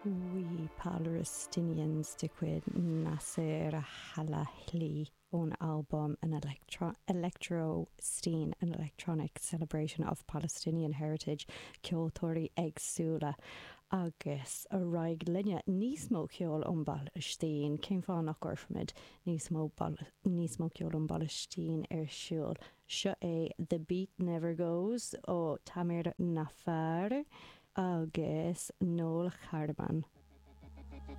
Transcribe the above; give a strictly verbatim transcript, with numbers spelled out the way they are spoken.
We Palestinians de chuid Nasir Halahli ón albam an Electro Electrosteen an Electronic Celebration of Palestinian Heritage ceoltóirí éagsúla agus ar aghaidh linne níos mó ceol ón bPalaistín cén fáth nach gcuirfimid níos mó níos mó ceol ón bPalaistín ar siúl. Seo é The Beat Never Goes ó Tamir Nafar agus Noel Harman.